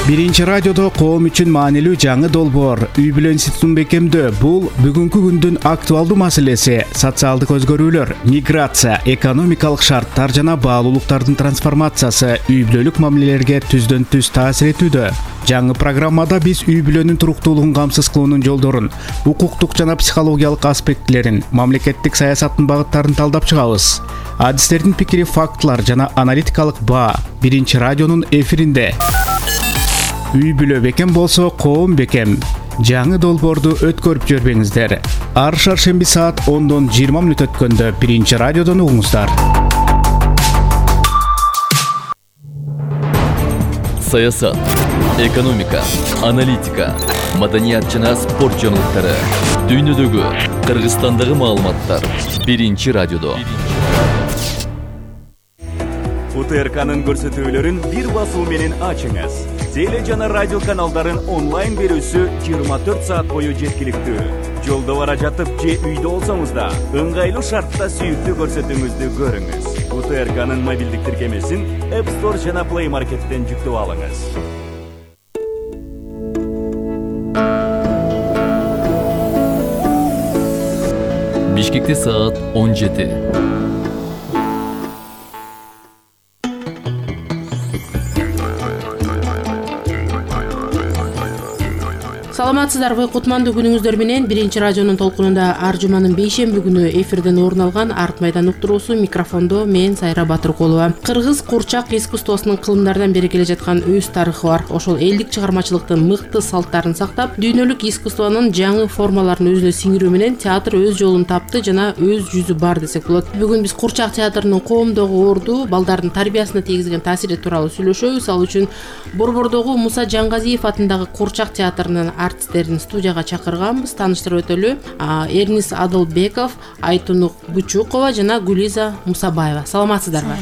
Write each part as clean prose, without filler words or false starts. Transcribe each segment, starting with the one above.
Биринчи радиодо коом үчүн маанилүү жаңы долбоор үй бүлө институтун бекемдөө. Бул бүгүнкү күндүн актуалдуу маселеси. Социалдык өзгөрүүлөр, миграция, экономикалык шарттар жана баалуулуктардын трансформациясы үй бүлөлүк мамилелерге түздөн түз таасир этүүдө. Жаңы программада биз үй бүлөнүн туруктуулугун камсыз кылуунун жолдорун, укуктук жана психологиялык аспектилерин, мамлекеттик саясаттын багыттарын талдап чыгабыз. Адистердин пикири, фактылар жана аналитикалык баа Биринчи радионун эфиринде. Үй бүлө бекем болсо, коом бекем. Жаңы долбоорду өткөрүп жибербеңиздер. Ар шаршемби саат 10:20 өткөндө Биринчи радиодон угуңуздар. Саясат, экономика, аналитика, маданият жана спорт жаңылыктары, дүйнөдөгү, Кыргызстандагы маалыматтар Биринчи радиодо. УТРКнын көрсөтүүлөрүн бир басуу менен ачыңыз. Теле жана радио каналдарын онлайн берүүсү 24 саат бою жеткиликтүү. Жолдо бара жатып же үйдө болсоңуз да, ыңгайлуу шартта сүйүктүү көрсөтүүңүздү көрүңүз. УТРКнын мобилдик тиркемесин App Store жана Play Market'тен жүктөп алыңыз. Бишкекте саат 17. Саламатсыздарбы, кутмандуу күнүңүздөр менен Биринчи радионун толкунунда ар жуманын бейшемби күнү эфирден орун алган Арт майдан уктуруусу. Микрофондо мен Сайра Батыркулова. Кыргыз курчак искусствосунун кылымдардан бери келе жаткан өз тарыхы бар. Ошол элдик чыгармачылыктын мыкты салттарын сактап, дүйнөлүк искусствонун жаңы формаларын өзүнө сиңирүү менен театр өз жолун тапты жана өз жүзү бар десек болот. Бүгүн биз курчак театрынын коомдогу орду, балдардын тарбиясына тийгизген таасири тууралуу сүйлөшөбүз. Ал үчүн Борбордогу Муса Жаңгазиев атындагы курчак театрынын артисттерин студияга чакырганбыз. Тааныштырып өтөлү. Эрнис Адылбеков, Айтунук Бучукова жана Гулиза Мусабаева. Саламатсыздарбы?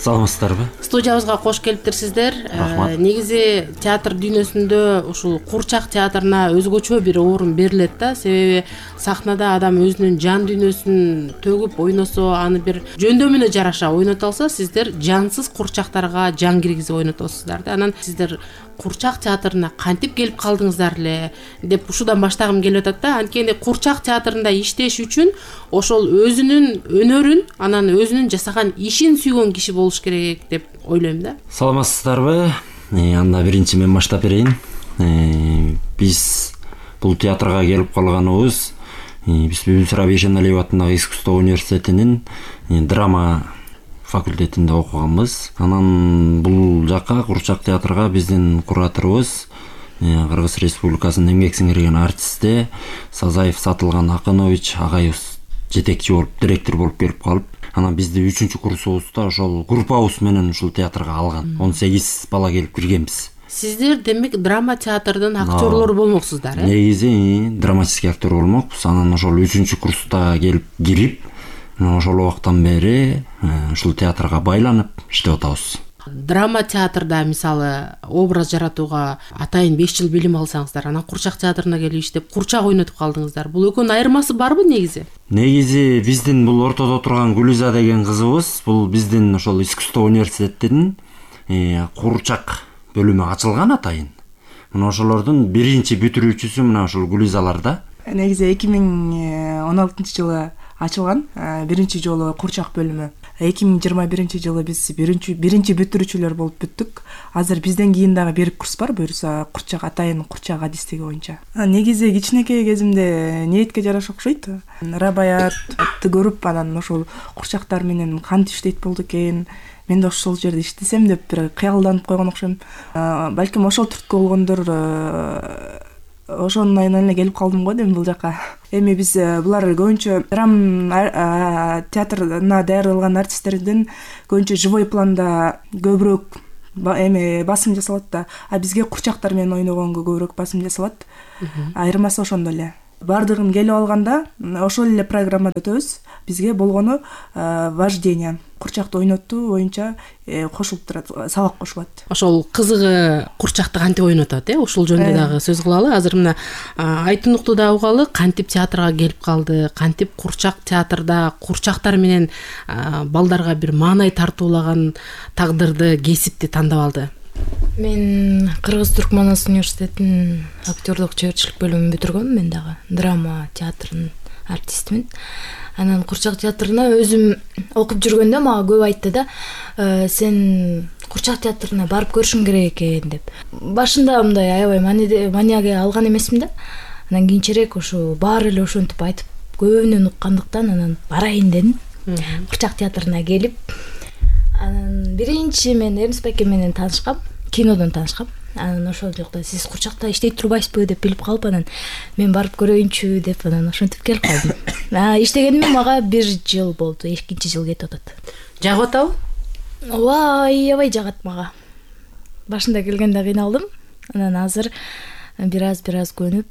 Саламатсыздарбы? Студиябызга кош келиптирсиздер. Рахмат. Негизи театр дүйнөсүндө ушул курчак театрына өзгөчө бир орун берилет да. Себеби сахнада адам өзүнүн жан дүйнөсүн төгүп ойносо, аны бир жөндөмүнө жараша ойното алса, сиздер жансыз курчактарга жан киргизип ойнотосуздар да. Анан сиздер курчак театрына кантип келип калдыңыздар эле деп ушудан баштагым келип атат да. Анткени курчак театрында иштеш үчүн ошол өзүнүн өнөрүн, анан өзүнүн жасаган ишин сүйгөн киши болуш керек деп ойлойм да. Саламатсыздарбы? Анда биринчи мен баштап берейин. Биз бул театрга келип калганыбыз биз Бүбүсара Бейшеналиева атындагы искусство университетинин драма факультетинде окуганбыз. Анан бул жака курчак театрга биздин кураторубуз Кыргыз Республикасынын эмгек сиңирген артисти Сазаев Сатылган Акынович агайыбыз жетекчи болуп, директор болуп келип калып, анан бизди 3-курсубузда ошол группабыз менен ушул театрга алган. 18 бала келип киргенбиз. Сиздер демек драма театрдын актерлору болмоксуздар, э? Негизи драматический актер болмокпуз. Анан ошол 3-курста кирип, ошол убактан бери ушул театрга байланып иштеп атабыз. Драма театрда мисалы образ жаратууга атайын 5 жыл билим алсаңыздар, анан курчак театрына келип иштеп курчак ойнотуп калдыңыздар. Бул экөөнүн айырмасы барбы негизи? Негизи биздин бул ортодо турган Гулиза деген кызыбыз, бул биздин ошол искусство университетинин курчак бөлүмү ачылган атайын. Мына ошолордун биринчи бүтүрүүчүсү мына ошол Гулизалар да. Негизи 2016-жылы ачылган биринчи жолу курчак бөлүмү. 2021-жылы биз биринчи бүтүрүүчүлөр болуп бүттүк. Азыр бизден кийин дагы бир курс бар, буюрса курчак атайын курчак адистиги боюнча. Негизи кичинекей кезимде ниетке жараша окшойт. Рабаятты көрүп, анан ошол курчактар менен кантип иштейт болду экен, мен да ошол жерде иштесем деп бир кыялданып койгон окшойм. Балким ошол түрткү болгондор ошонун айынан эле келип калдым го дейм бул жака. Эми биз булар көбүнчө драма театрына даярдалган артисттердин көбүнчө живой планда көбүрөөк басым жасалат да, а бизге курчактар менен ойногонго көбүрөөк басым жасалат. Айырмасы ошондо эле. Бардыгын келип алганда ошол эле программада өтөбүз. Бизге болгону вождение. Курчакты ойнотуу боюнча кошулуп турат, сабак кошулат. Ошол кызыгы курчакты кантип ойнотот, ушул жөнүндө дагы сөз кылалы. Азыр мына Айтунукту да угалы, кантип театрга келип калды, кантип курчак театрда курчактар менен балдарга бир маанай тартуулаган тагдырды, кесипти тандап алды. Мен Кыргыз-Түркманас университетинин актерлук чеберчилик бөлүмүн бүтүргөм. Мен дагы драма театрынын артистимин. Анан Курчак театрына өзүм окуп жүргөндө мага көп айтты да, сен Курчак театрына барып көрүшүң керек экен деп. Башында мындай аябай манияга алган эмесмин да. Анан кийинчерээк ошо баары эле ошентип айтып көбүнөн уккандыктан анан барайын дедим. Курчак театрына келип, анан биринчи мен Эрнис Байке менен таанышкам, кинодон таанышкам. Анан ошол жакта сиз Курчакта иштей турбайсызбы деп билип калып, анан мен барып көрөйүнчү деп анан ошентип келип калдым. Иштегениме мага 1 жыл болду, 2-чи жыл кетип атат. Жагып атабы? Ооба, аябай жагат мага. Башында келгенде кыйналдым. Анан азыр бир аз көнүп,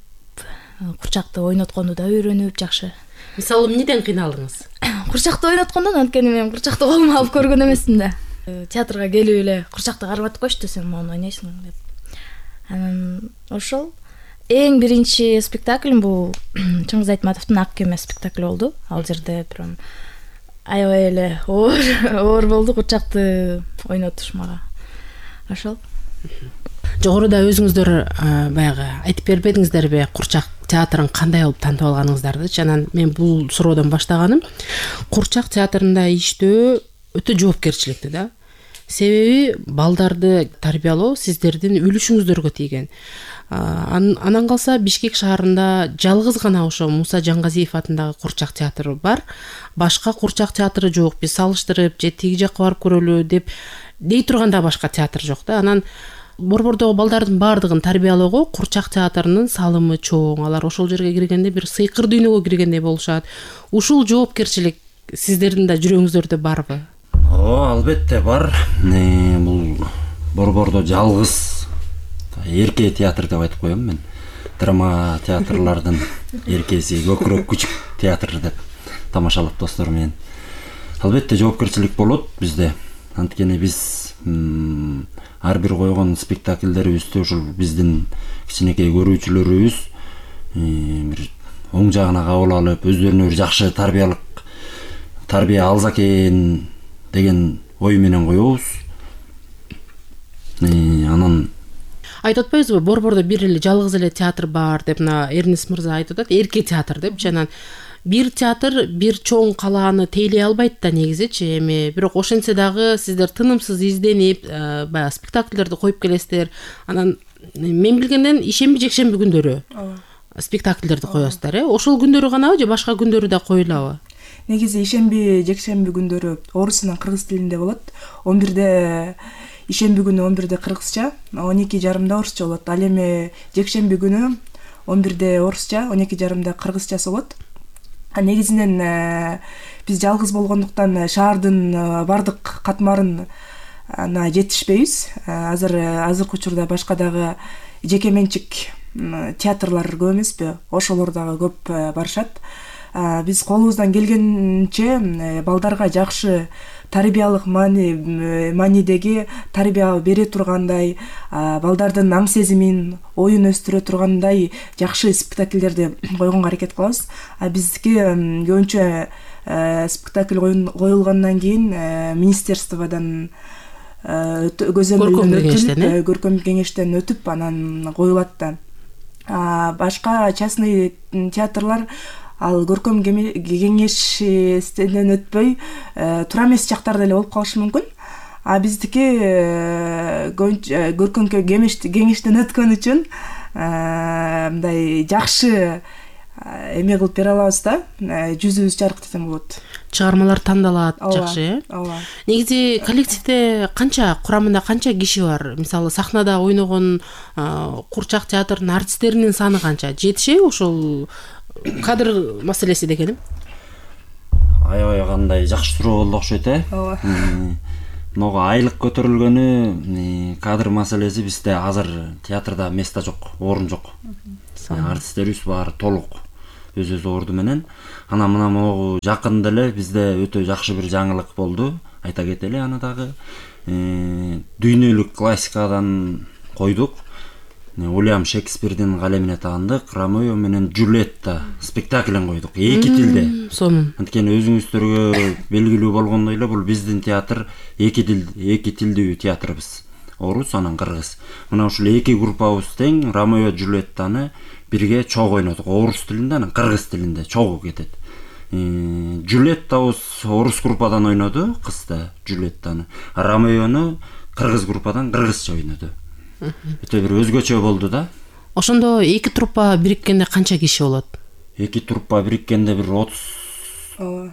Курчакты ойнотконду да үйрөнүп жакшы. Мисалы, эмнеден кыйналдыңыз? Курчакты ойноткондон, анткени мен Курчакты колума алып көргөн эмесмин да. Театрга келип эле Курчакты карматып коюшту, сен мону ойнойсуң деп. Анан ошол эң биринчи спектакль бул Чыңгыз Айтматовдун Ак кеме спектакли болду. Ал жерде прям аябай эле оор болду Курчакты ойнотуш мага. Ошол. Жогоруда өзүңүздөр баягы айтып бербедиңиздерби Курчак театрын кандай болуп тантып алганыңыздарды? Анан мен бул суроодон баштаганым Курчак театрында иштөө өтө жоопкерчиликтүү да. Себеби балдарды тарбиялоо сиздердин үлүшүңүздөргө тийген. Анан калса Бишкек шаарында жалгыз гана ошо Муса Жангазиев атындагы Курчак театры бар. Башка Курчак театры жок. Биз салыштырып же тиги жакка барып көрөлү деп дей турганда башка театр жок да. Анан Борбордогу балдардын баардыгын тарбиялоого Курчак театрынын салымы чоң. Алар ошол жерге киргенде бир сыйкыр дүйнөгө киргендей болушат. Ушул жоопкерчилик сиздердин да жүрөгүңүздөрдө барбы? Албетте бар. Бул Борбордо жалгыз эрке театр деп айтып коем мен. Драма театрлардын эркеси, көкүрөк күчүк театр деп тамашалап достор менен. Албетте жоопкерчилик болот бизде. Анткени биз ар бир койгон спектакльдерибизди ушул биздин кичинекей көрүүчүлөрүбүз бир оң жагына кабыл алып, өздөрүнө бир жакшы тарбия алса экен деген ой менен коебуз. Анан айтып атпайбызбы, Борбордо бир эле жалгыз эле театр бар деп Эрнис мырза айтып атат, эрке театр деп. Анан бир театр бир чоң калааны тейлей албайт да негизичи. Эми бирок ошентсе дагы сиздер тынымсыз изденип, баягы спектакльдерди коюп келесиздер. Анан мен билгенден ишемби жекшемби күндөрү спектакльдерди коесуздар, Ошол күндөрү ганабы же башка күндөрү да коюлабы? Негизи ишемби жекшемби күндөрү орус менен кыргыз тилинде болот. 11-де ишемби күнү 11-де кыргызча, 12:30 орусча болот. Ал эми жекшемби күнү 11-де орусча, 12:30 кыргызчасы болот. Негизинен биз жалгыз болгондуктан шаардын бардык катмарын жетишпейбиз. Азыркы учурда башка дагы жеке менчик театрлар көп эмеспи? Ошолор дагы көп барышат. Биз колубуздан келгенче балдарга жакшы тарбиялык маанидеги тарбия бере тургандай, балдардын аң сезимин, оюн өстүрө тургандай жакшы спектакльдерди койгонго аракет кылабыз. Биздики көбүнчө спектакль коюлгандан кийин министерстводон көркөм кеңештен өтүп анан коюлат да. Башка частный театрлар ал көркөм кеңештен өтпөй туура эмес жактарда эле болуп калышы мүмкүн. Биздики көркөм кеңештен өткөн үчүн мындай жакшы эме кылып бере алабыз да, жүзүбүз жарык десем болот. Чыгармалар тандалат жакшы, Ооба. Негизи коллективде курамында канча киши бар? Мисалы сахнада ойногон Курчак театрынын артисттеринин саны канча? Жетишеби ошол кадр маселеси дегеним? Аябай кандай жакшы суроо болду окшойт, Ооба. Могу айлык көтөрүлгөнү, кадр маселеси бизде азыр театрда место жок, орун жок. Артисттерибиз баары толук өз орду менен. Анан мына могу жакында эле бизде өтө жакшы бир жаңылык болду. Айта кетели, аны дагы дүйнөлүк классикадан койдук. Уильям Шекспирдин калемине таандык Ромео менен Джульетта спектаклин койдук эки тилде. Сонун. Анткени өзүңүздөргө белгилүү болгондой эле бул биздин театр эки тилдүү театрыбыз. орус, анан кыргыз. Мына ушул эки группабыз тең Ромео Джульеттаны бирге чогуу ойнодук. Орус тилинде, анан кыргыз тилинде чогуу кетет. Джульеттабыз орус группадан ойноду, кызда Джулеттаны. Ромеону кыргыз группадан кыргызча ойноду. Өтө бир өзгөчө болду да. Ошондо эки труппа бириккенде канча киши болот? Эки труппа бириккенде бир 30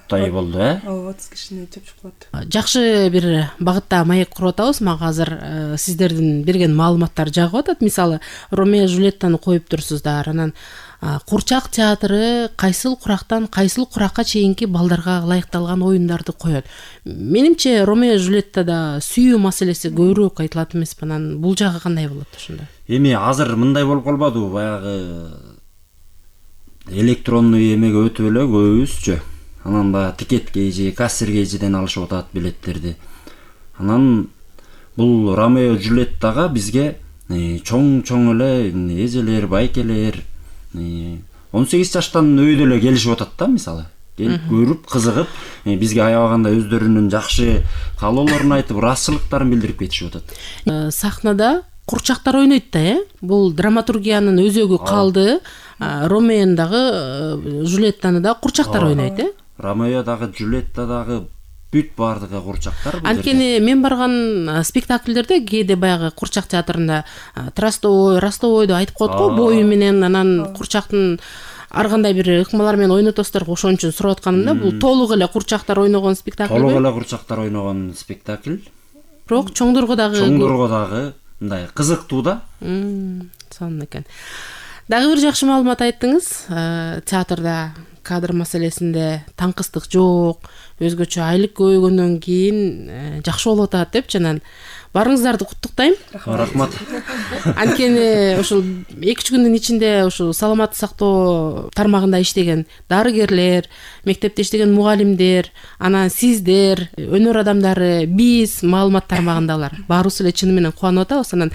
тай болду, 30 кишини чөпчүп калат. Жакшы бир багытта маек куруп атабыз. Мага азыр сиздердин берген маалыматтар жагып атат. Мисалы, Ромео Джульеттаны коюп турсуздар. Анан Курчак театры кайсыл курактан кайсыл куракка чейинки балдарга ылайыкталган оюндарды коет. Менимче Ромео Джульеттада сүйүү маселеси көбүрөөк айтылат эмеспи? Анан бул жагы кандай болот ошондо? Эми азыр мындай болуп калбадыбы, баягы электронный эмеге өтүп эле көбүбүзчү. Анан да тикетке же кассирге жеден алышып атат билеттерди. Анан бул Ромео Джульеттага бизге чоң эле эжелер, байкелер 18 жаштан өйдө эле келишип атат да, мисалы. Келип көрүп, кызыгып, бизге аябаганда өздөрүнүн жакшы каалоолорун айтып, ыраазычылыктарын билдирип кетишип атат. Сахнада курчактар ойнойт да, бул драматургиянын өзөгү калды. Ромео дагы Джульеттаны да курчактар ойнойт, Ромео дагы Джульетта дагы бүт бардыгы курчактар. Анткени мен барган спектакльдерде кээде баягы курчак театрында Ростовойду айтып коет го, бою менен, анан курчактын ар кандай бир ыкмалар менен ойнотосуздар, ошон үчүн сурап атканымда, бул толук эле курчактар ойногон спектакль. Толук эле курчактар ойногон спектакль. Бирок чоңдорго дагы мындай кызыктуу да. Сонун экен. Дагы бир жакшы маалымат айттыңыз. Театрда кадр маселесинде таңкыстык жок, өзгөчө айлык көбөйгөндөн кийин жакшы болуп атат деп, жанан барыңыздарды куттуктайм. Рахмат. Анткени ушул 2-3 күндүн ичинде ушул саламаттык сактоо тармагында иштеген дарыгерлер, мектепте иштеген мугалимдер, анан сиздер, өнөр адамдары, биз маалымат тармагындагылар баарыбыз эле чыны менен кубанып атабыз. Анан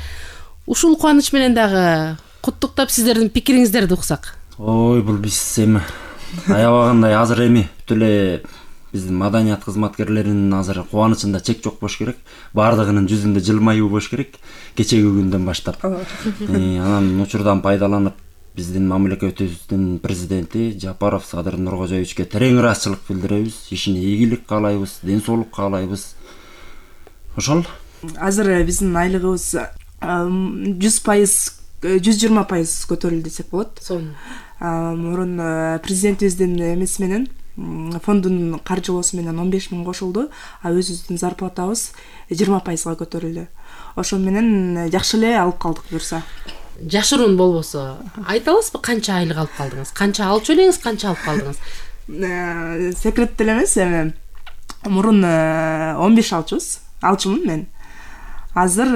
ушул кубаныч менен дагы куттуктап сиздердин пикириңиздерди уксак. Ой, бул биз эми аябагандай азыр эми бүт эле биздин маданият кызматкерлеринин азыр кубанычында чек жок болуш керек. Бардыгынын жүзүндө жылмаюу болуш керек кечеги күндөн баштап. Анан учурдан пайдаланып биздин мамлекетибиздин президенти Жапаров Садыр Нуркожоевичке терең ыраазычылык билдиребиз. Ишине ийгилик каалайбыз, ден соолук каалайбыз. Ошол. Азыр биздин айлыгыбыз 100%, 120% көтөрүлдү десек болот. Мурун президентибиздин эмеси менен, фондун каржылоосу менен 15 000 кошулду, өзүбүздүн зарплатабыз 20%га көтөрүлдү. Ошо менен жакшы эле алып калдык буюрса. Жашыруун болбосо айта аласызбы, канча айлык алып калдыңыз? Канча алчу элеңиз, канча алып калдыңыз? Секрет деле эмес, эми мурун 15 алчумун мен. Азыр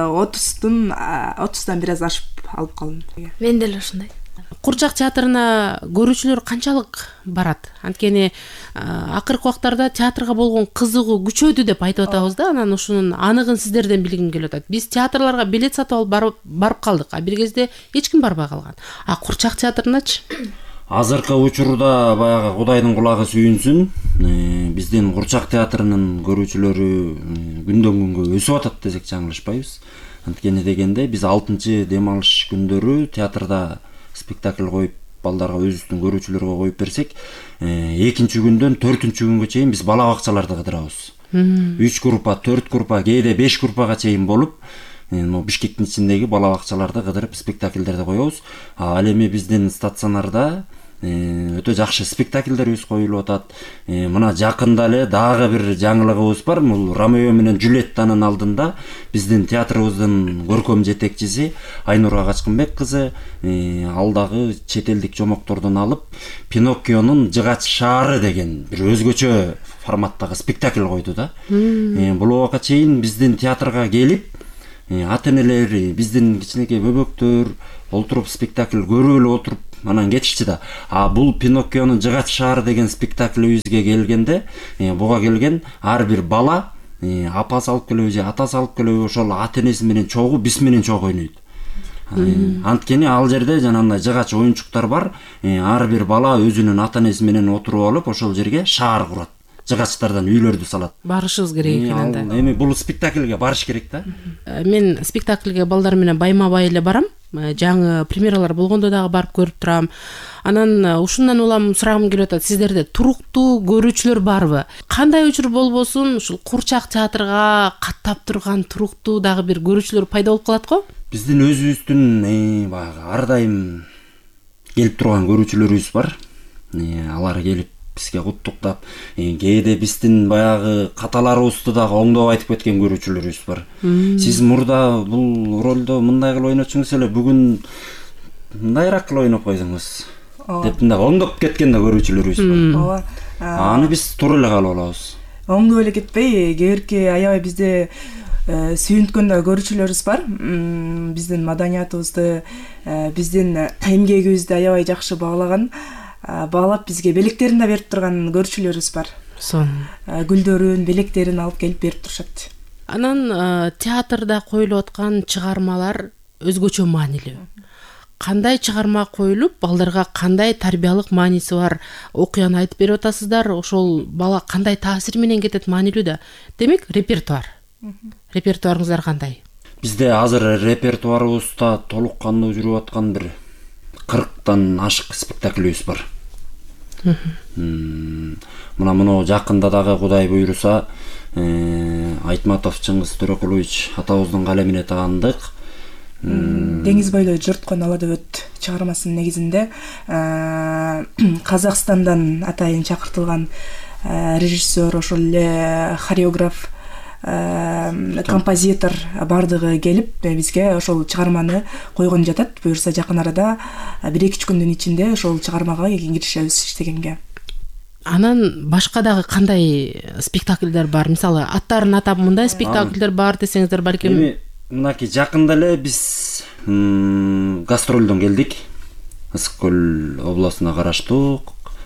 30дан бир аз ашып алып калдым. Мен деле ошондой. Курчак театрына көрүүчүлөр канчалык барат? Анткени акыркы убактарда театрга болгон кызыгуу күчөдү деп айтып атабыз да. Анан ушунун аныгын сиздерден билгим келип атат. Биз театрларга билет сатып алып барып калдык, а бир кезде эч ким барбай калган. А курчак театрыначы? Азыркы учурда баягы Кудайдын кулагы сүйүнсүн, биздин курчак театрынын көрүүчүлөрү күндөн күнгө өсүп атат десек жаңылышпайбыз. Анткени дегенде биз 6-чы дем алыш күндөрү театрда спектакль коюп, балдарга өзүбүздүн көрүүчүлөргө коюп берсек, 2-чү күндөн 4-чү күнгө чейин биз бала бакчаларды кыдырабыз. 3 группа, 4 группа, кээде 5 группага чейин болуп, Бишкектин ичиндеги бала бакчаларды кыдырып спектакльдерди коебуз. Ал эми биздин стационарда өтө жакшы спектакльдерибиз коюлуп атат. Мына жакында эле дагы бир жаңылыгыбыз бар. Бул Ромео менен Джульеттанын алдында биздин театрыбыздын көркөм жетекчиси Айнура Качкынбек кызы ал дагы чет элдик жомоктордон алып Пиноккионун Жыгач шаары деген бир өзгөчө форматтагы спектакль койду да. Бул убакка чейин биздин театрга келип ата-энелер, биздин кичинекей бөбөктөр олтуруп спектакль көрүп эле отуруп анан кетишти да. А бул Пиноккионун Жыгач шаары деген спектаклибизге келгенде, буга келген ар бир бала апасы алып келеби же атасы алып келеби, ошол ата-энеси менен чогуу, биз менен чогуу ойнойт. Анткени ал жерде жанагындай жыгач оюнчуктар бар. Ар бир бала өзүнүн ата-энеси менен отуруп алып, ошол жерге шаар курат. жыгачтардан үйлөрдү салат. Барышыбыз керек экен анда. Эми бул спектакльге барыш керек да. Мен спектакльге балдар менен байма-бай эле барам. Жаңы премьералар болгондо дагы барып көрүп турам. Анан ушундан улам сурагым келип атат. Сиздерде туруктуу көрүүчүлөр барбы? Кандай учур болбосун, ушул Курчак театрга каттап турган туруктуу дагы бир көрүүчүлөр пайда болуп калат го? Биздин өзүбүздүн баягы ар дайым келип турган көрүүчүлөрүбүз бар. Алар келип бизге куттуктап, кээде биздин баягы каталарыбызды дагы оңдоп айтып кеткен көрүүчүлөрүбүз бар. Сиз мурда бул ролдо мындай кылып ойнотчуңуз эле, бүгүн мындайраак кылып ойноп койдуңуз деп мындай оңдоп кеткен да көрүүчүлөрүбүз бар. Ооба. Аны биз туура эле кабыл алабыз. Оңдоп эле кетпей, кээбирки аябай бизде сүйүнткөн да көрүүчүлөрүбүз бар. Биздин маданиятыбызды, биздин эмгегибизди аябай жакшы баалап бизге белектерин да берип турган көрүүчүлөрүбүз бар. Гүлдөрүн, белектерин алып келип берип турушат. Анан театрда коюлуп аткан чыгармалар өзгөчө маанилүү. Кандай чыгарма коюлуп, балдарга кандай тарбиялык мааниси бар окуяны айтып берип атасыздар, ошол бала кандай таасир менен кетет, маанилүү да. Демек, репертуар. Репертуарыңыздар кандай? Бизде азыр репертуарыбызда толук кандуу жүрүп аткан бир 40тан ашык спектакльбиз бар. Мына жакында дагы Кудай буйруса, Айтматов Чыңгыз Төрөкулович атабыздын калемине таандык. Деңиз бойлой жорткон ала дөбөт чыгармасынын негизинде Казакстандан атайын чакыртылган режиссер, ошол эле хореограф, композитор бардыгы келип бизге ошол чыгарманы койгон жатат. Буюрса жакын арада 1-2 күндүн ичинде ошол чыгармага киришебиз иштегенге. Анан башка дагы кандай спектакльдер бар? Мисалы, аттарын атап мындай спектакльдер бар десеңиздер балким. Эми мынакей жакында эле биз гастролдон келдик. Ысык көл областына караштуу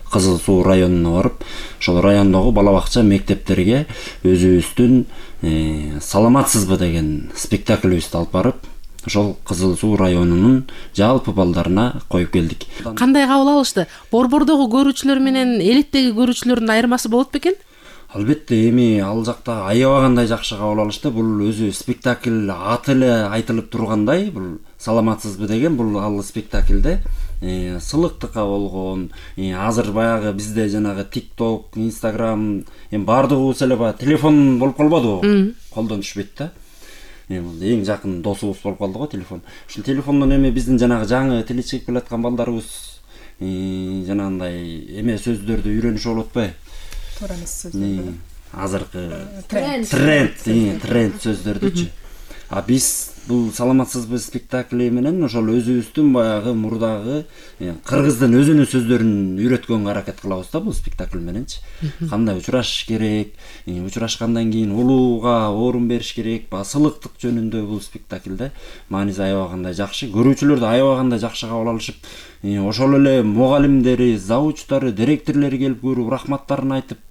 Кызыл Суу районуна барып, ошол райондогу бала бакча мектептерге өзүбүздүн саламатсызбы деген спектакльбизди алып барып, ошол Кызыл Суу районунун жалпы балдарына коюп келдик. Кандай кабыл алышты? Борбордогу көрүүчүлөр менен элеттеги көрүүчүлөрдүн айырмасы болот бекен? Албетте, эми ал жакта аябагандай жакшы кабыл алышты. Бул өзү спектакль аты эле айтылып тургандай, бул саламатсызбы деген бул ал спектакльде сылыктыкка болгон, азыр баягы бизде жанагы TikTok, Instagram, баардыгыбыз эле баягы телефон болуп калбадыбы? Колдон түшпөйт да. Эң жакын досубуз болуп калды го телефон. Ушул телефондон эми биздин жанагы жаңы тили чыгып келаткан балдарыбыз жанагындай эме сөздөрдү үйрөнүшүп болуп атпайбы? Туура эмес сөздөрдү. Азыркы тренд сөздөрдүчү. А биз бул саламатсызбы спектакли менен ошол өзүбүздүн баягы мурдагы кыргыздын өзүнүн сөздөрүн үйрөткөнгө аракет кылабыз да бул спектакль мененчи. Кандай учурашыш керек, учурашкандан кийин улууга орун бериш керек, сылыктык жөнүндө бул спектакльде мааниси аябагандай жакшы. Көрүүчүлөр да аябагандай жакшы кабыл алышып, ошол эле мугалимдери, завучтары, директорлори келип көрүп, рахматтарын айтып,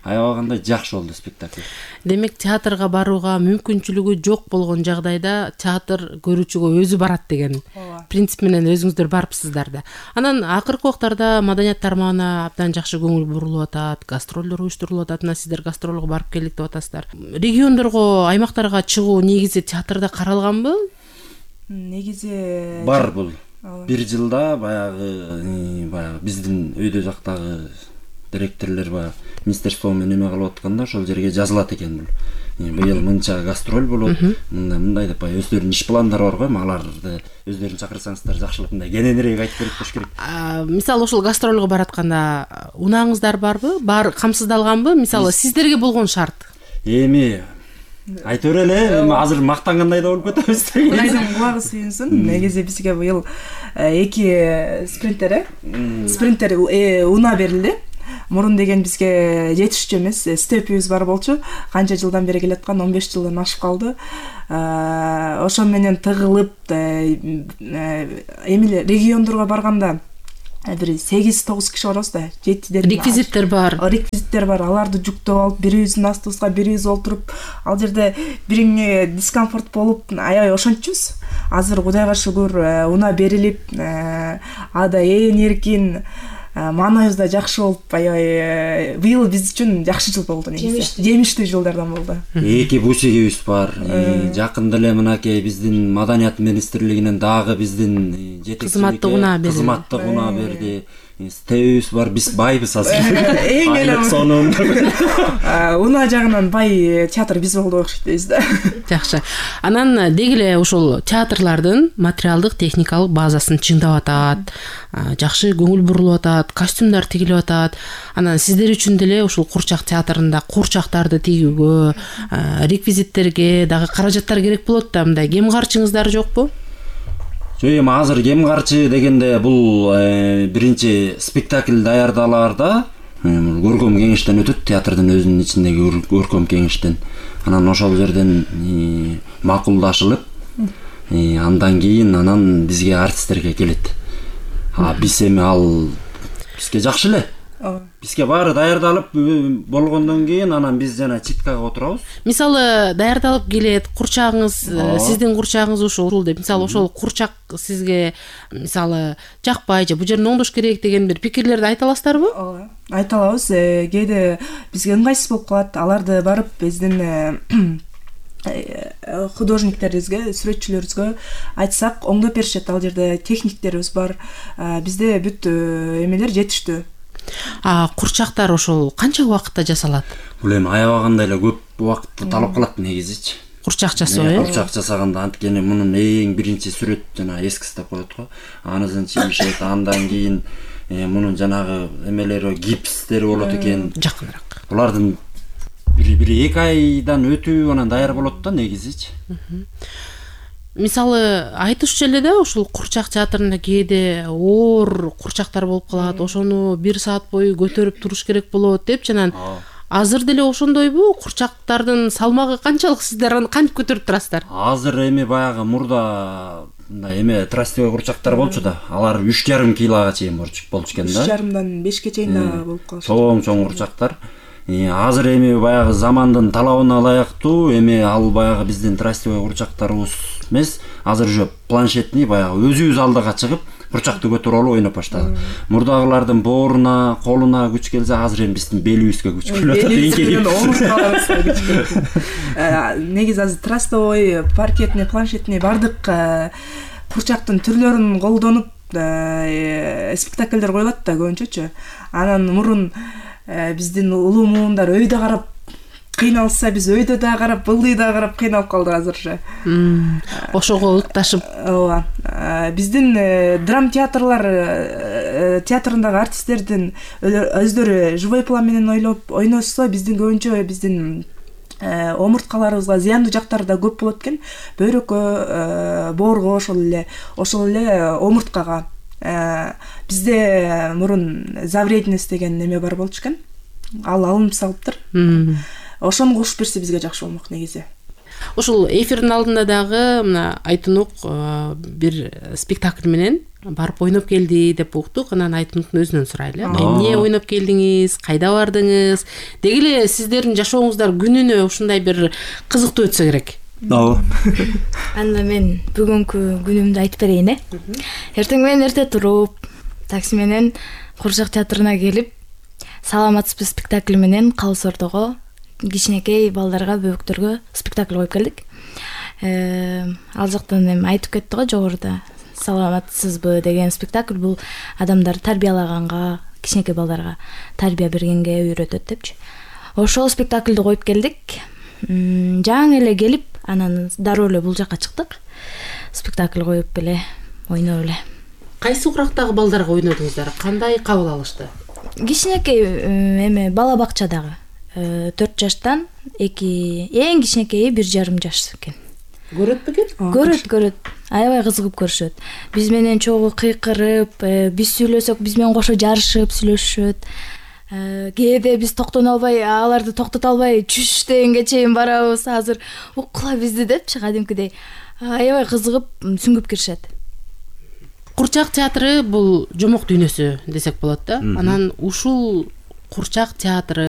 аябагандай жакшы болду спектакль. Демек, театрга барууга мүмкүнчүлүгү жок болгон жагдайда театр көрүүчүгө өзү барат деген принцип менен өзүңүздөр барыпсыздар да. Анан акыркы убактарда маданият тармагына абдан жакшы көңүл бурулуп атат, гастролдор уюштурулуп атат. Сиздер гастролго барып келдик деп атасыздар. Региондорго, аймактарга чыгуу негизи театрда каралганбы? Негизи бар бул. Бир жылда баягы биздин өйдө жактагы директорлор министерство менен эме кылып атканда ошол жерге жазылат экен бул. Быйыл мынча гастроль болот, мындай деп өздөрүнүн иш пландары бар го, аларды өздөрүн чакырсаңыздар жакшылык мындай кененирээк айтып берип коюш керек. Мисалы, ошол гастролго баратканда унааңыздар барбы? Бар камсыздалганбы? Мисалы, сиздерге болгон шарт? Эми айта берели, азыр мактангандай да болуп кетебиз. Кудайдын кулагы сүйүнсүн. Негизи бизге быйыл 2 спринтер унаа берилди. Мурун деген бизге жетишчү эмес, степибиз бар болчу. Канча жылдан бери келаткан, 15 жылдан ашып калды. Ошо менен тыгылып, эми региондорго барганда бир 8-9 киши барабыз да. Реквизиттер бар. Аларды жүктөп алып, бирибиздин астыбызга бирибиз олтуруп, ал жерде бириңе дискомфорт болуп, аябай ошончубуз. Азыр Кудайга шүгүр унаа берилип, ада эркин маанайыбыз да жакшы болуп, аябай быйыл биз үчүн жакшы жыл болду негизи. Жемиштүү жылдардан болду. Эки бусигибиз бар. Жакында эле мынакей биздин Маданият министрлигинен дагы биздин кызматтык унаа берди. Стебибиз бар, биз байбыз азыр. Эң эле сонун. Унаа жагынан бай театр биз болду окшойт дейбиз да. Жакшы. Анан деги эле ошол театрлардын материалдык техникалык базасын чыңдап атат, жакшы көңүл бурулуп атат, костюмдар тигилип атат. Анан сиздер үчүн деле ушул курчак театрында курчактарды тигүүгө, реквизиттерге дагы каражаттар керек болот да, мындай кем карчыңыздар жокпу? Жок, эми азыр кем карчы дегенде бул биринчи спектакль даярдалаарда көркөм кеңештен өтөт, театрдын өзүнүн ичиндеги көркөм кеңештен. Анан ошол жерден макулдашылып, андан кийин бизге артисттерге келет. Биз эми ал бизге жакшы эле. Бизге баары даярдалып болгондон кийин анан биз жана читкага отурабыз. Мисалы даярдалып келет, курчагыңыз, сиздин курчагыңыз ушул деп, мисалы ошол курчак сизге мисалы жакпай же бу жерин оңдош керек деген бир пикирлерди айта аласыздарбы? Ооба, айта алабыз. Кээде бизге ыңгайсыз болуп калат. Аларды барып биздин художниктерибизге, сүрөтчүлөрүбүзгө айтсак, оңдоп беришет. Ал жерде техниктерибиз бар. Бизде бүт эмелер жетиштүү. Курчактар ошол канча убакытта жасалат? Бул эми аябаганда эле көп убакытты талап кылат негизичи. Курчак жасоо, Курчак жасаганда анткени мунун эң биринчи сүрөт жана эскиз деп коет го. Анысын чийишет, андан кийин мунун жанагы эмелери, гипстери болот экен. Жакыныраак. Булардын бири 2 айдан өтүп анан даяр болот да негизичи. Мисалы айтышчу эле да, ушул курчак театрында кээде оор курчактар болуп калат, ошону 1 саат бою көтөрүп туруш керек болот деп, жанан азыр деле ошондойбу? Курчактардын салмагы канчалык, сиздер аны кантип көтөрүп турасыздар? Азыр эми баягы мурда эме трастевый курчактар болчу да, алар 3,5 килога чейин болчу экен да. 3,5-дан 5ке чейин да болуп калат. Чоң курчактар. Азыр эми баягы замандын талабына ылайыктуу эми ал баягы биздин трастевый курчактарыбыз эмес, азыр уже планшетный баягы өзүбүз алдыга чыгып курчакты көтөрүп алып ойноп баштады. Мурдагылардын бооруна, колуна күч келсе, азыр эми биздин белибизге күч келип атат. Негизи азыр трастовый, паркетный, планшетный бардык курчактын түрлөрүн колдонуп спектакльдер коюлат да көбүнчөчү. Анан мурун биздин улуу муундар өйдө карап кыйналса, биз өйдө да карап, былдый да карап кыйналып калдык азырчы. Ошого ылыкташып. Ооба. Биздин драм театрлар театрындагы артисттердин өздөрү живой план менен ойносо, биздин көбүнчө биздин омурткаларыбызга зыяндуу жактары да көп болот экен. Бөйрөккө, боорго, ошол эле омурткага. Бизде мурун завредность деген неме бар болчу экен. Ал алынып салыптыр. Ошону кошуп берсе бизге жакшы болмок негизи. Ушул эфирдин алдында дагы мына Айтунук бир спектакль менен барып ойноп келди деп уктук. Анан Айтунуктун өзүнөн сурайлы. Эмне ойноп келдиңиз? Кайда бардыңыз? Деги эле сиздердин жашооңуздар күнүнө ушундай бир кызыктуу өтсө керек. Анда мен бүгүнкү күнүмдү айтып берейин. Эртең менен эрте туруп, такси менен Курчак театрына келип, саламатсызбы спектакли менен Калыс Ордого кичинекей балдарга, бөбүктөргө спектакль коюп келдик. Ал жактан эми айтып кетти го жогоруда. Саламатсызбы деген спектакль бул адамдарды тарбиялаганга, кичинекей балдарга тарбия бергенге үйрөтөт депчи. Ошол спектакльди коюп келдик. Жаңы эле келип, анан дароо эле бул жакка чыктык. Спектакль коюп эле, ойноп эле. Кайсы курактагы балдарга ойнодуңуздар? Кандай кабыл алышты? Кичинекей эме бала бакчадагы 4 жаштан эң кичинекейи 1,5 жаш экен. Көрөт бекен? Көрөт. Аябай кызыгып көрүшөт. Биз менен чогуу кыйкырып, биз сүйлөсөк, биз менен кошо жарышып сүйлөшүшөт. Кээде биз токтоно албай, аларды токтото албай, чүш дегенге чейин барабыз. Азыр уккула бизди депчи, кадимкидей. Аябай кызыгып, сүңгүп киришет. Курчак театры бул жомок дүйнөсү десек болот да. Анан ушул Курчак театры,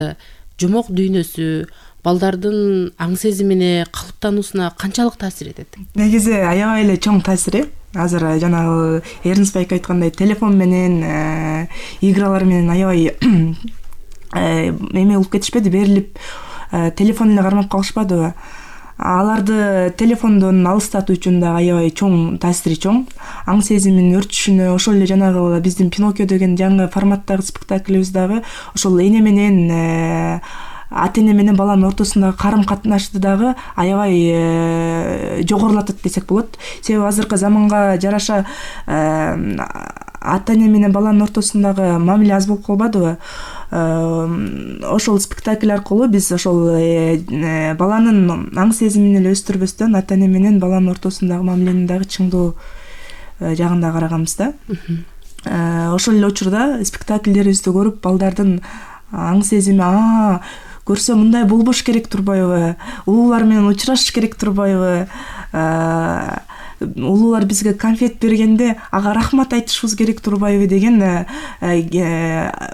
жомок дүйнөсү балдардын аң сезимине, калыптануусуна канчалык таасир этет? Негизи аябай эле чоң таасири. азыр жанагы Эрнст байке айткандай телефон менен игралар менен аябай эме болуп кетишпеди, берилип телефон эле кармап калышпадыбы. Аларды телефондон алыстатуу үчүн да аябай чоң таасири чоң. Аң сезимин өрчүшүнө ошол эле жанагы биздин Пиноккио деген жаңы форматтагы спектаклибиз дагы ошол эне менен ата эне менен баланын ортосундагы карым катнашты дагы аябай жогорулатат десек болот. Себеби азыркы заманга жараша ата эне менен баланын ортосундагы мамиле аз болуп калбадыбы. Ошол спектакль аркылуу биз ошол баланын аң сезимин эле өстүрбөстөн ата эне менен баланын ортосундагы мамиленин дагы чыңдоо жагында караганбыз да. Ошол эле учурда спектакльдерибизди көрүп балдардын аң сезими көрсө мындай болбош керек турбайбы, улуулар менен учурашыш керек турбайбы, улуулар бизге конфет бергенде ага рахмат айтышыбыз керек турбайбы деген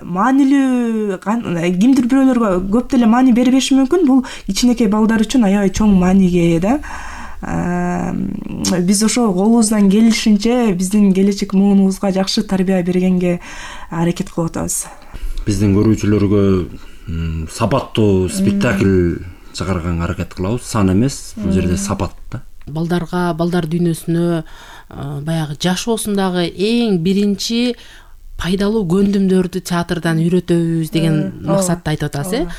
маанилүү, кимдир бирөөлөргө көп деле маани бербеши мүмкүн, бул кичинекей балдар үчүн аябай чоң мааниге ээ да. Биз ошо колубуздан келишинче биздин келечек муунубузга жакшы тарбия бергенге аракет кылып атабыз. Биздин көрүүчүлөргө сапаттуу спектакль чыгарганга аракет кылабыз. Сан эмес, бул жерде сапат да. Балдарга, балдар дүйнөсүнө баягы жашоосундагы эң биринчи пайдалуу көндүмдөрдү театрдан үйрөтөбүз деген максатты айтып атасыз.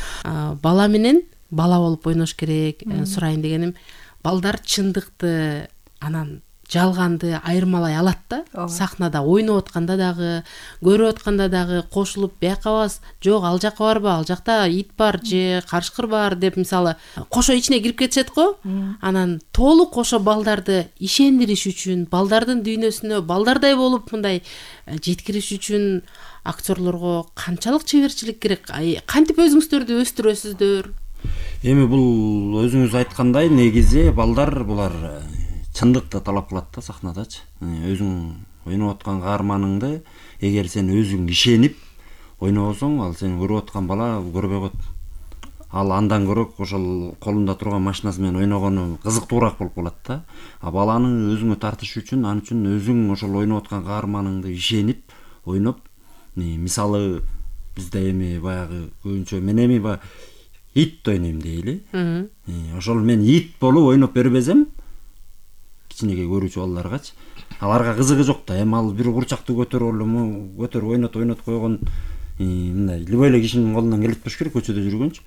Бала менен бала болуп ойнош керек. Сурайын дегеним, балдар чындыкты анан жалганды айырмалай алат да. Сахнада ойноп атканда дагы, көрүп атканда дагы кошулуп бияка бас, жок ал жака барбы, ал жакта ит бар же карышкыр бар деп мисалы кошо ичине кирип кетишет го. Анан толук ошо балдарды ишендириш үчүн, балдардын дүйнөсүнө балдардай болуп мындай жеткириш үчүн актерлорго канчалык чеберчилик керек? Кантип өзүңүздөрдү өстүрөсүздөр? Эми бул өзүңүз айткандай негизи балдар булар чындыкты талап кылат да сахнадачы. Өзүң ойноп аткан каарманыңды эгер сен өзүң ишенип ойнобосоң, ал сен көрүп аткан бала көрбөй коет. Ал андан көрөк ошол колунда турган машинасы менен ойногону кызыктуураак болуп калат да. Баланы өзүңө тартыш үчүн, ан үчүн өзүң ошол ойноп аткан каарманыңды ишенип ойноп, мисалы бизде эми баягы көбүнчө мен эми ит ойнойм дейли. Ошол мен ит болуп ойноп бербесем, кичинекей көрүүчү балдаргачы, аларга кызыгы жок да. Эми ал бир курчакты көтөрүп ойнот койгон мындай любой эле кишинин колунан келет болуш керек көчөдө жүргөнчү.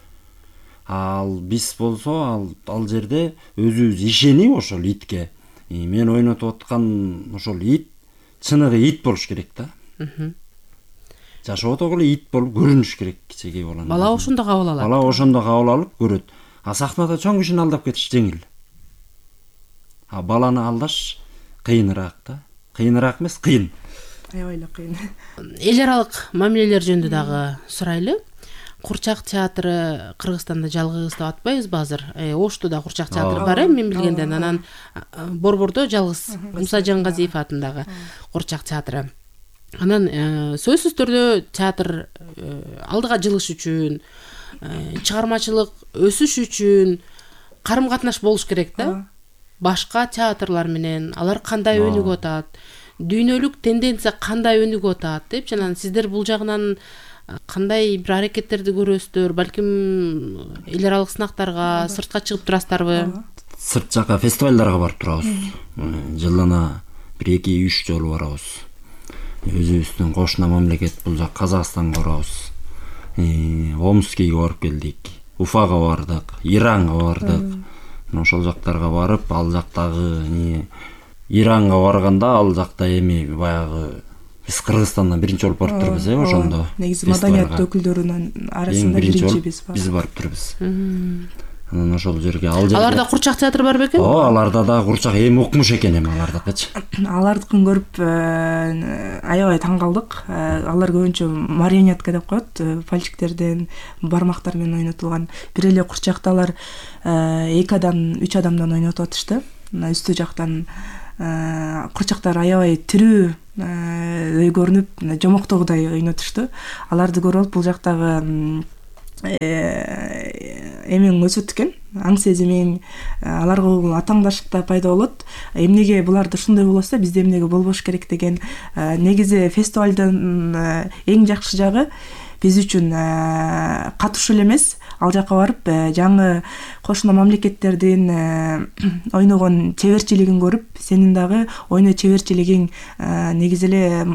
Ал биз болсо ал жерде өзүбүз ишенип ошол итке, мен ойнотуп аткан ошол ит чыныгы ит болуш керек да. Жашоодо эле ит болуп көрүнүш керек кичинекей баланы. Бала ошондо кабыл алат. Бала ошондо кабыл алып көрөт. Сахнада чоң кишини алдап кетиш жеңил. Баланы алдаш кыйыныраак да. Кыйыныраак эмес, кыйын. Аябай эле кыйын. Эл аралык мамилелер жөнүндө дагы сурайлы. Курчак театры Кыргызстанда жалгыз деп атпайбызбы азыр? Ошто да Курчак театры бар, мен билгенден. Анан Борбордо жалгыз Муса Жаңгазиев атындагы Курчак театры. Анан сөзсүз түрдө театр алдыга жылыш үчүн, чыгармачылык өсүш үчүн карым катнаш болуш керек да. Башка театрлар менен алар кандай өнүгүп атат, дүйнөлүк тенденция кандай өнүгүп атат деп, жана сиздер бул жагынан кандай бир аракеттерди көрөсүздөр, балким эл аралык сынактарга сыртка чыгып турасыздарбы? Сырт жака фестивалдарга барып турабыз. Жылына 1-2-3 жолу барабыз. Өзүбүздүн кошуна мамлекет бул жак Казакстанга барабыз. Омскийге барып келдик, Уфага бардык, Иранга бардык. Ошол жактарга барып, ал жактагы Иранга барганда ал жакта эми баягы биз Кыргызстандан биринчи болуп барып турбуз, ошондо. Негизи маданият өкүлдөрүнүн арасында биринчи биз барып турбуз. Анан ошол жерге аларда Курчак театры бар бекен? Аларда да Курчак эми укмуш экен эми алардыкычы. Алардыкын көрүп аябай таң калдык. Алар көбүнчө марионетка деп коет, пальчиктерден, бармактар менен ойнотулган. Бир эле Курчакта алар 2-3 адамдан ойнотуп атышты. Үстү жактан Курчактар аябай тирүү көрүнүп, жомоктогудай ойнотушту. Аларды көрүп бул жактагы эмең өсөт экен. аң сезимиң, аларга болгон атаңдаштык да пайда болот. Эмнеге буларда ушундай болосо, бизде эмнеге болбош керек деген. Негизи фестивалдын эң жакшы жагы биз үчүн катышуу эле эмес, ал жака барып жаңы кошуна мамлекеттердин ойногон чеберчилигин көрүп, сенин дагы ойноо чеберчилигиң негизи эле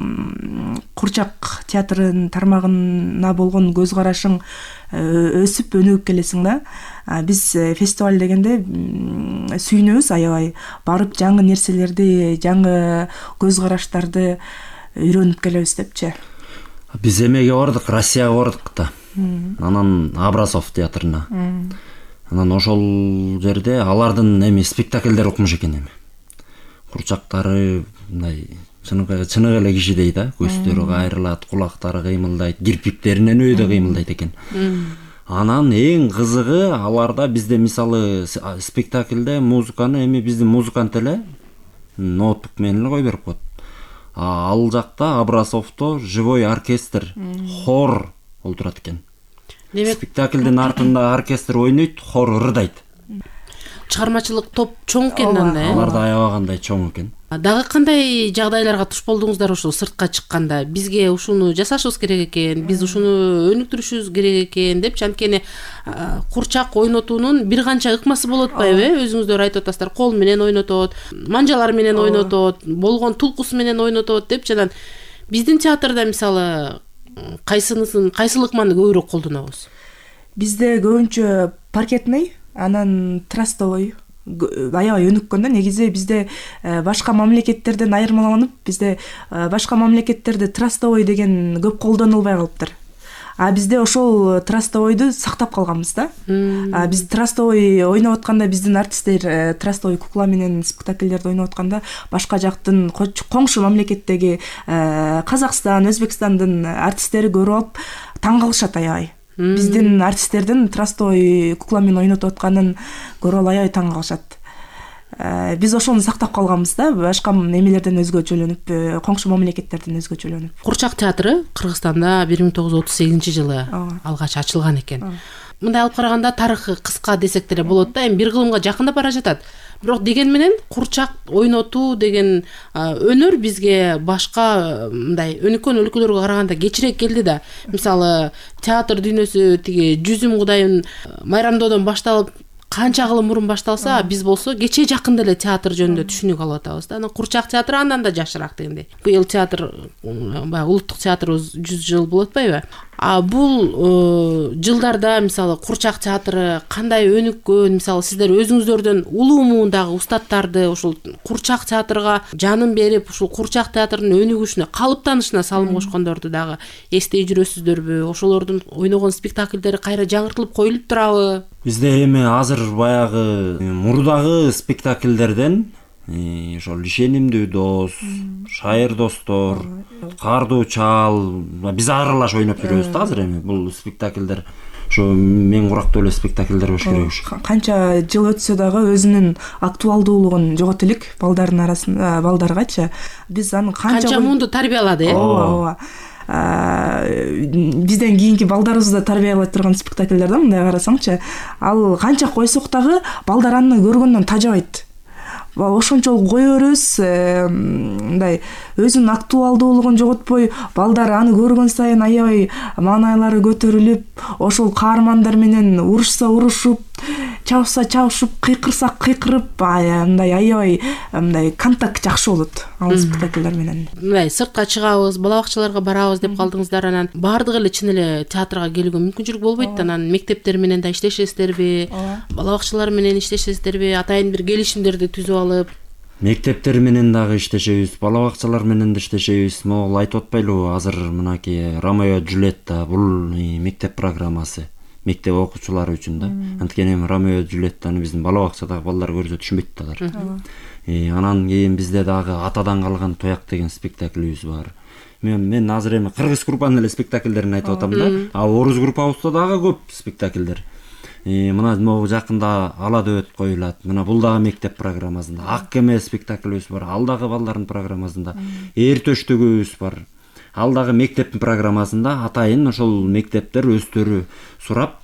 курчак театрынын тармагына болгон көз карашың өсүп өнүгүп келесиң да. Биз фестиваль дегенде сүйүнөбүз аябай, барып жаңы нерселерди, жаңы көз караштарды үйрөнүп келебиз депчи. Биз эмеге бардык, Россияга бардык да. Анан Абрасов театрына. Анан ошол жерде алардын спектакльдери укмуш экен эми. Курчактары мындай чыныгы эле кишидей да, көздөрү кайрылат, кулактары кыймылдайт, кирпиктеринен өйдө кыймылдайт экен. Анан эң кызыгы аларда бизде мисалы спектакльде музыканы биздин музыкант эле ноутбук менен эле кой берип коет. Ал жакта Абрасовдо живой оркестр, хор олтурат экен. Спектакльдин артында оркестр ойнойт, хор ырдайт. Чыгармачылык топ чоң экен анда. Аларда аябагандай чоң экен. Дагы кандай жагдайларга туш болдуңуздар ушул сыртка чыкканда? Бизге ушуну жасашыбыз керек экен, биз ушуну өнүктүрүшүбүз керек экен депчи. Анткени курчак ойнотуунун бир канча ыкмасы болуп атпайбы? Өзүңүздөр айтып атасыздар, кол менен ойнотот, манжалар менен ойнотот, болгон тулкусу менен ойнотот депчи. Анан биздин театрда мисалы кайсыл ыкманы көбүрөөк колдонобуз? Бизде көбүнчө паркетный, анан трастовый аябай өнүккөн да. Негизи бизде башка мамлекеттерден айырмаланып, бизде башка мамлекеттерде трастовый деген көп колдонулбай калыптыр. Бизде ошол трастовойду сактап калганбыз да. Биз трастовой ойноп атканда, биздин артисттер трастовой кукла менен спектакльдерди ойноп атканда, башка жактын коңшу мамлекеттеги Казакстан, Өзбекстандын артисттери көрүп алып таң калышат аябай. Биздин артисттердин трастовой кукла менен ойнотуп атканын көрүп алып аябай таң калышат. Биз ошону сактап калганбыз да, башка эмелерден өзгөчөлөнүп, коңшу мамлекеттерден өзгөчөлөнүп. Курчак театры Кыргызстанда 1938-жылы алгач ачылган экен. Мындай алып караганда тарыхы кыска десек деле болот да, эми бир кылымга жакындап бара жатат. Бирок деген менен курчак ойнотуу деген өнөр бизге башка мындай өнүккөн өлкөлөргө караганда кечирээк келди да. Мисалы театр дүйнөсү тиги Жүзүм Кудайын майрамдоодон башталып канча кылым мурун башталса, биз болсо кече жакында эле театр жөнүндө түшүнүк алып атабыз да. Анан курчак театры андан да жакшыраак дегендей. Быйыл театр баягы улуттук театрыбыз 100 жыл болуп атпайбы? Бул жылдарда мисалы курчак театры кандай өнүккөн, мисалы сиздер өзүңүздөрдөн улуу муундагы устаттарды ушул курчак театрга жанын берип, ушул курчак театрынын өнүгүшүнө, калыптанышына салым кошкондорду дагы эстей жүрөсүздөрбү? Ошолордун ойногон спектакльдери кайра жаңыртылып коюлуп турабы? Бизде эми азыр баягы мурдагы спектакльдерден ошол Ишенимдүү дос, Шайыр достор, Кардуу чал, биз аралаш ойноп жүрөбүз да азыр эми. Бул спектакльдер ошо мен курактуу эле спектакльдер болуш керек. Канча жыл өтсө дагы өзүнүн актуалдуулугун жогото элек балдардын арасында, балдаргачы. Биз аны канча муунду тарбиялады, ооба. Бизден кийинки балдарыбызды да тарбиялай турган спектакльдер да, мындай карасаңчы. Ал канча койсок дагы балдар аны көргөндөн тажабайт. Ошончолук кое беребиз, мындай өзүнүн актуалдуулугун жоготпой, балдар аны көргөн сайын аябай маанайлары көтөрүлүп, ошол каармандар менен урушса урушуп, чабышса чабышып, кыйкырса кыйкырып, мындай аябай мындай контакт жакшы болот ал спектакльдер менен. Мындай сыртка чыгабыз, бала бакчаларга барабыз деп калдыңыздар, анан баардыгы эле чын эле театрга келүүгө мүмкүнчүлүк болбойт. Анан мектептер менен да иштешесиздерби, бала бакчалар менен иштешесиздерби, атайын бир келишимдерди түзүп алып? Мектептер менен дагы иштешебиз, бала бакчалар менен да иштешебиз. Могул айтып атпайлыбы, азыр мынакей Ромео Джульетта бул мектеп программасы, мектеп окуучулары үчүн да. Анткени Ромео Джульеттаны биздин бала бакчадагы балдар көрсө түшүнбөйт да алар. Анан кийин бизде дагы Атадан калган тояк деген спектакльбиз бар. Мен азыр эми кыргыз группанын эле спектакльдерин айтып атам да. Орус группабызда дагы көп спектакльдер. Мына могу жакында Ала дөбөт коюлат. Мына бул дагы мектеп программасында. Ак кеме спектакльбиз бар. Ал дагы балдардын программасында. Эр төштөгүбүз бар. Ал дагы мектептин программасында. Атайын ошол мектептер өздөрү сурап